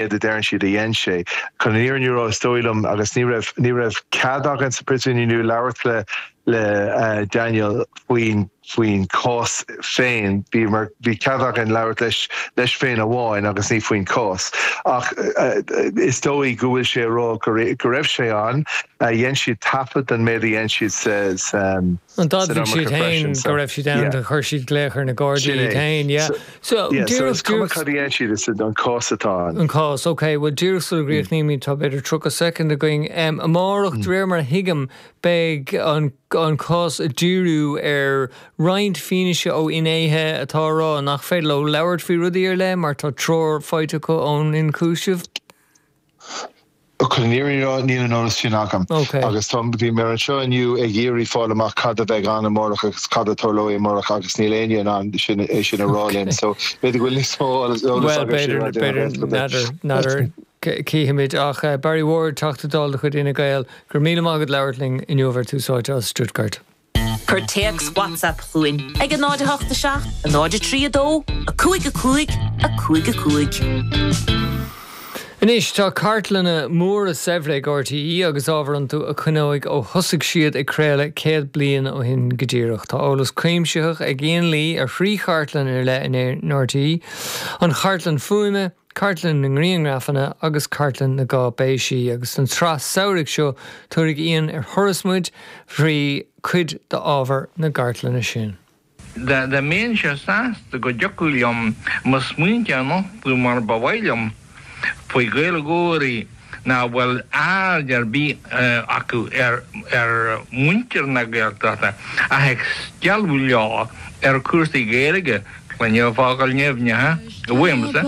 a deireann siad a dhein sé. Chun an fhírinne a rá, is dóigh liom, agus ní raibh, ní raibh cead againn sa Phríosún inniu labhairt le, le Daniel faoin, faoin chás féin. Bhí mar, bhí cead againn labhairt leis, leis féin amháin agus ní faoin chás. Ach is dóigh go bhfuil sé a rá go, go raibh sé ann. Dhein siad taifead den méid a dhein siad sa, sa, An d'admhaigh siad féin go raibh siad ann, do chuir siad glaoch ar na Gardaí iad féin, yeah. So, yeah, so is cuma cad a dhein siad, is an cás atá ann. An cás, ok. Bhuel, díreach sula gcríochnaímid, tá b'fhéidir 30 soicind againn. Amárach, de réir mar a thuigim, beidh an an cás ag díriú ar roinnt fianaise ó fhinnéithe atá ag rá nach féidir leo labhairt faoi rudaí ar leith mar tá treoir faighte acu ón ionchúiseamh. Chun an fhírinne a rá, níl an eolas sin agam. Agus tá, bhí mé anseo inniu ag iarraidh fáil amach cad a bheidh ann amárach agus cad a tarlóidh amárach agus níl éinne in ann sin, é sin a rá linn. So, b'fhéidir go bhfuil níos mó eolas Bhuel, b'fhéidir, b'fhéidir, n'fheadar, n'fheadar, cífimid. Ach Barry Ward, Teachta Dála de chuid Fhine Gael, go raibh míle maith agat labhairt linn inniu ar Tús Áite as Stuttgart. Cuir téacs WhatsApp chugainn ag 0 8 7 0 3 2 5 5 5 5. Anois tá cartlanna móra saibhre ag RTÉ agus ábhar iontu a choinneoidh ó thosaigh siad ag craoladh 100 bliain ó shin go díreach. Tá eolas cuimsitheach ag Ian Lee ar thrí chartlann ar leith in RTÉ, an Chartlann Fuaime, Cartlann na nGrianghrafanna agus Cartlann na gCáipéisí, agus don tsraith samhraidh seo tabharfaidh Ian ar thuras muid thrí chuid d'ábhar na gcartlanna sin. Dá mbeinnse sásta go dtiocfadh liom mo smaointe a nochtadh mar ba mhaith liom faoi Ghaeilgeoirí nach bhfuil aird ar bith acu ar mhuintir na Gaeltachta ach ag stealladh leo ar chúrsaí Gaeilge, cluinim focail nimhneacha uaimse.